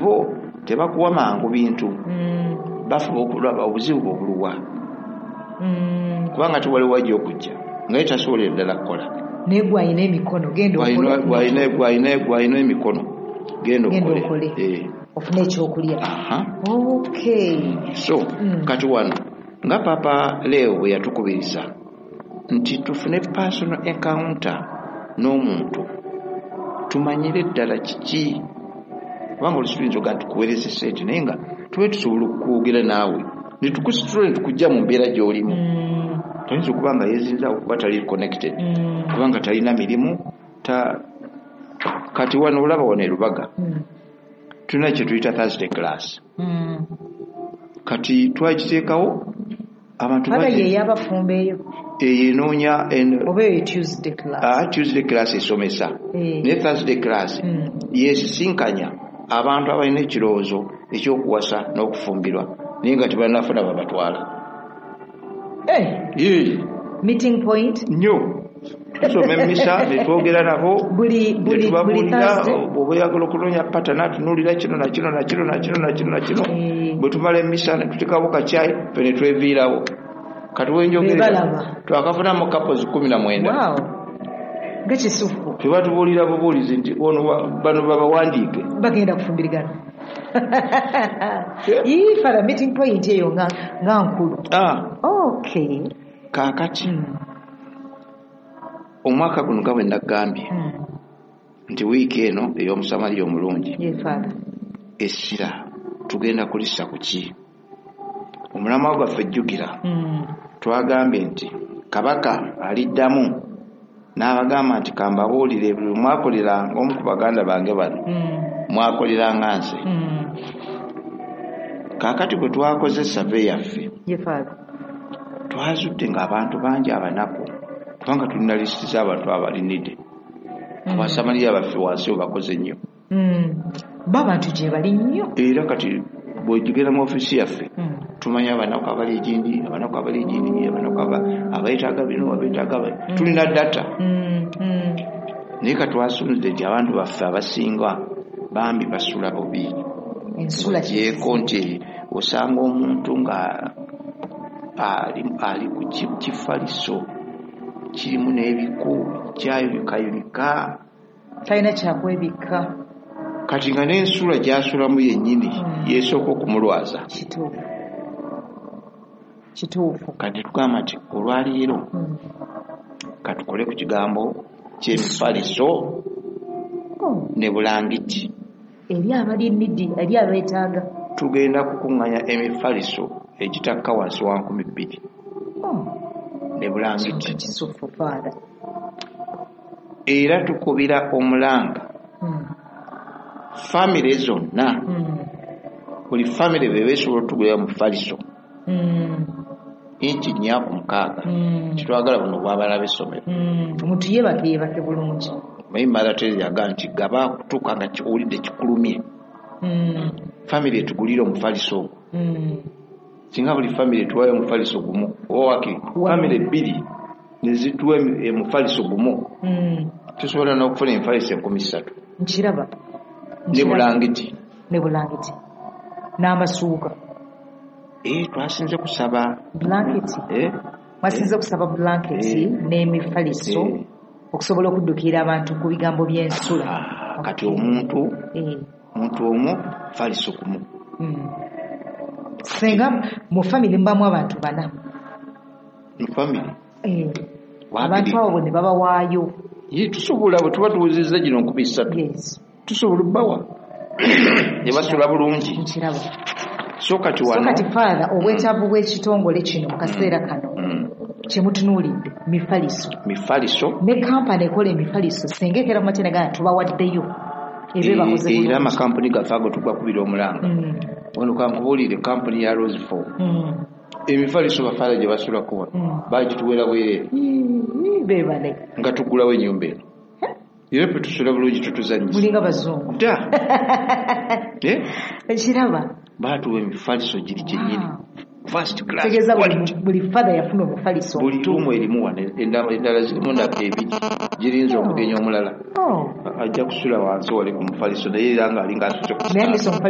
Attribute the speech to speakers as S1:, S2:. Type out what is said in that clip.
S1: Bo tebakuwa mangu bintu, bafuba okulaba obuzibu bwe obuluwa, kubanga tewali wajja okujja nga ye tasobolera ddala kukola.
S2: Naye gwe alina emikono, genda okole.
S1: Gwalina emikono, genda
S2: Genda
S1: okole.
S2: okole. Ofune ekyokulya.
S1: Aha.
S2: Okay.
S1: So kati wano nga Papa Leo bwe yatukubiriza nti tufune personal encounter n'omuntu, tumanyire ddala kiki, kubanga olusi tuyinza ogaa tukuweereza sente, naye nga tube tusobola okwogera naawe netukusitula netukujja mu mbeera gy'olimu. Toyinza okuba nga yezinza okuba tali connected, kubanga talina mirimu ta. Kati wano olaba wano e Lubaga tulina kye tuyita Thursday class. Kati twakiteekawo abantu
S2: Father,
S1: bangi.
S2: Ye y'abafumbo eyo?
S1: Eyo enoonya
S2: Oba eyo Tuesday class?
S1: Ah, Tuesday class esomesa, naye Thursday class yesisinkanya abantu abalina ekirowoozo ekyokuwasa n'okufumbirwa, naye nga tebanafuna babatwala. Ye.
S2: Meeting point.
S1: Nnyo. Tusoma emmisa netwogera nabo,
S2: Buli
S1: netubabuulira.
S2: Thursday?
S1: Bw'oba oyagala okunoonya partner, tunuulira kino na kino na kino na kino na kino na kino. Bwe tumala emmisa ne tutekawo kacyayi, ffe ne tweviirawo. Kati wenjogerera,
S2: Bebalaba.
S1: twakafunamu couples 19.
S2: Wow, nga kisufu.
S1: Tebatubuulira bubuulizi nti ono bano babawandiike.
S2: Bagenda kufumbirigana. Ii, Father, meeting point eyo nga nkulu.
S1: Ah,
S2: Okay.
S1: kaakati omwaka guno nga bwe nagambye nti wiiki eno ey'Omusamaliya omulungi,
S2: Ye, Father.
S1: essira tugenda kulissa ku ki? Omulamwa gwaffe, jjukira, twagambye nti kabaka aliddamu n'abagamba nti kambabuulire, buli mwakoleranga omu ku baganda bange bano, mwakoleranga nze. Kaakati bwe twakoze survey yaffe,
S2: Ye, Father.
S1: twazudde ng'abantu bangi abanaku, kubanga tulina lisiti z'abantu abali needy. Abasamaliya baffe wansi we bakoze nnyo.
S2: Bo abantu gye bali nnyo.
S1: Era kati bw'ogenda mu ofiisi yaffe, tumanya abanaku abali egindi, abanaku abali egindi, abanaku abeetaaga bino, abeetaaga tulina data. Naye katwasunze nti abantu baffe abasinga bambi basula bubi.
S2: Ensula.
S1: Ogyeko nti osanga omuntu nga ali ku kifaliso kirimu n'ebiku, kyayulikayulika.
S2: Talina kyakwebikka.
S1: Kati nga n'ensula gy'asulamu yennyini yeesooka okumulwaza.
S2: Kituufu.
S1: Kati tugamba nti olwaleero katukole ku kigambo ky'emifaliso ne bulangiti.
S2: Eri abali needy, eri abeetaaga.
S1: Tugenda kukuŋŋanya emifaliso egitakka wansi wa 2000 ne bulangiti.
S2: Kisufu, Father.
S1: Era tukubira omulanga famire zonna, buli famire bwe beesobola otugulira mufaliso inchi 4 ku 6. Kitwagala buno bw'abaana b'essomero.
S2: Omuntu yeebake, yeebake bulungi.
S1: Naye Mother Teresa yagaa nti gaba kutuuka nga owulidde kikulumye, famire etugulire omufaliso ogwo. Singa buli famire etuwayo omufaliso gumu, oba wakiri famire bbiri nezituwa omufaliso gumu, tusobola n'okufuna emifaliso 3000.
S2: Nkiraba.
S1: Ne bulangiti.
S2: Ne bulangiti n'amasuuka.
S1: Eh, twasinze kusaba
S2: Blanketi.
S1: Eh?
S2: Mwasinze kusaba blanketi n'emifaliso okusobola okuddukira abantu ku bigambo by'ensula.
S1: Ah, kati omuntu omuntu omu faliso gumu.
S2: Senga mu famire mubamu abantu bana.
S1: Mu famire?
S2: Eh.
S1: Wakiri.
S2: Abantu abo ne babawaayo.
S1: Ye, tusobola bwe tuba tuwezezza gino 3000, tusobola obbawa ne basula bulungi.
S2: Nkiraba.
S1: So kati
S2: So
S1: wano
S2: kati, Father, obwetaavu bw'ekitongole kino mu kaseera kano kyemutunuulidde mifaliso.
S1: Mifaliso.
S2: Ne kampani ekola emifaliso, senga ekera mu makya negana tubawaddeyo, ebe bakoze
S1: Era
S2: bulungi.
S1: amakampuni gaffe ago tugakubira omulanga. Wano kankubuulire, kampuni ya Rosefoam, emifaliso bafaala gye basulako wano bagituwera bwereere.
S2: Ii, beebale.
S1: Nga tugulawo ennyumba eno, era ffe tusula bulungi, tutuzanyisa.
S2: Mulinga bazungu.
S1: Dda. Eh?
S2: Ekiraba.
S1: Baatuwa emifaliso giri gyennyini, first class
S2: Tegeeza buli
S1: quality.
S2: Buli father yafuna omufaliso.
S1: Buli ruumu erimu wano, endala zirimu ndaka ebiri girinza omugenyi omulala.
S2: Oh.
S1: Ajja kusula wansi wali ku mufaliso, naye era ng'alinga asuse ku
S2: Naye
S1: kitanda.
S2: mise omufaliso.